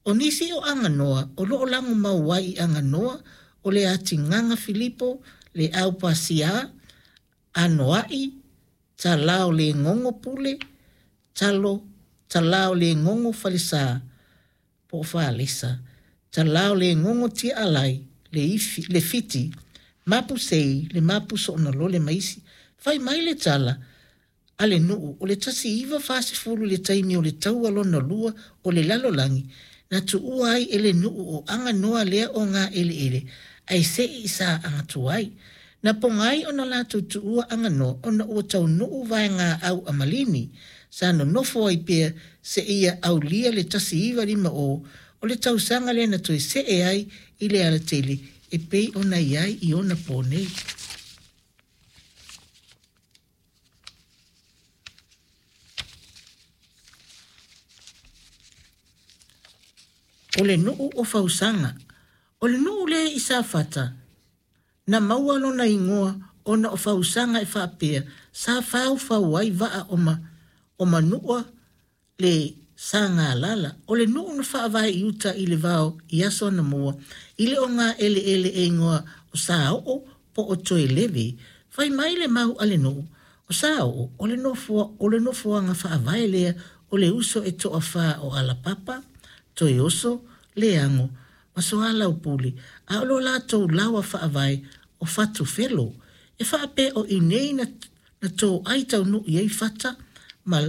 O nisi o Aganoa o loo lago mau ai i Aganoa o le Atigaga Filipo, le Au Pasiā, Anoa'i, Talaolegogo Pule, Talo, Talaolegogo Falesā po o Falesa, Talaolegogo Tiaalai, le Ifi, le Fiti, Mapu Sei, le Mapu Soonalole ma isi. Fai mai le tala a le nuu o le 1940 i le taimi o le Taua Lona Lua o le Lalolagi, na tuua ai e le nuu o Aganoa lea o ngā eleele ae se'i i sa agatuai. Na poga ai ona latou tuua Aganoa ona ua taunuu vaegaau a Malini, sa nonofo ai pea seia aulia le 1950 o le tausaga lea na toe see ai i le alatele e pei ona i ai i ona pō nei. O le nuu o Fausaga. O le nuu lea i Safata, na maua lona igoa ona o Fausaga e faapea sa faufau ai vaa o, ma, o Manua le Sagalala. O le nuu na faavae i uta i le vao i aso anamua i le ogaeleele e igoa o Saoo po o Toeleve. Fai mai le mau a le nuu, o Saoo o le nofoa, o le nofoaga faavae lea o le uso e toafā o Alapapa, Toeoso, Leago ma Soalaupule, a o lo latou laoa faavae o Fatufelo. E faapea o i nei na, na toai taunuu i ai Fata ma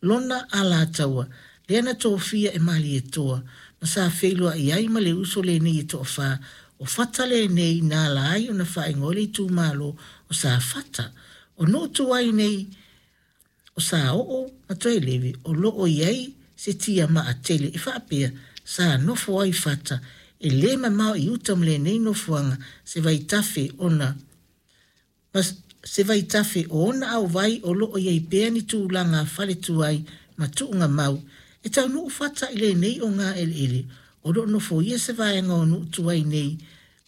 lona alataua, lea na tofia e Malietoa, ma sa feiloai ai ma le uso lenei e toafā, o Fata lenei na ala ai ona faaigoa le itumalo o Safata. O nuu tuai nei o Saoo ma Toelevi o loo i ai se tiamaa tele e faapea sa nofo ai Fata e lē mamao i uta ma lenei nofoaga se vaitafe ona ma se vaitafe o ona auvai o loo i ai pea ni tulaga fale tuai ma tuugamau e taunuu Fata i lenei ogaeleele o loo nofoia se vaega o nuu tuai nei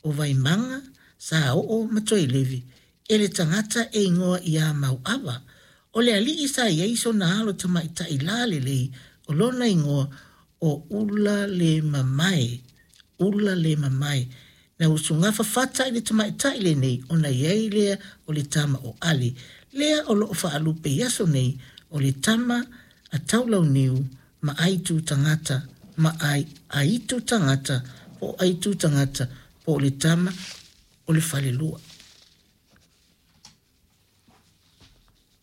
o Vaimaga, Saoo ma Toelevi e le tagata e igoa iā Mauava. O le alii sa i ai sona alo tamaitai lalelei o lona igoa o Ulalemamae, Ulalemamae. Na usugafa Fata i le tamaitai lenei ona i ai lea o le tama o Ale, lea o loo faalupe i aso nei o le tama a Taulauniu ma Aitu Tagata ma Ai, Aitu Tagata po o Aitu Tagata po o le tama o le falelua.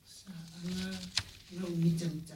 Sa aga lau mitamita.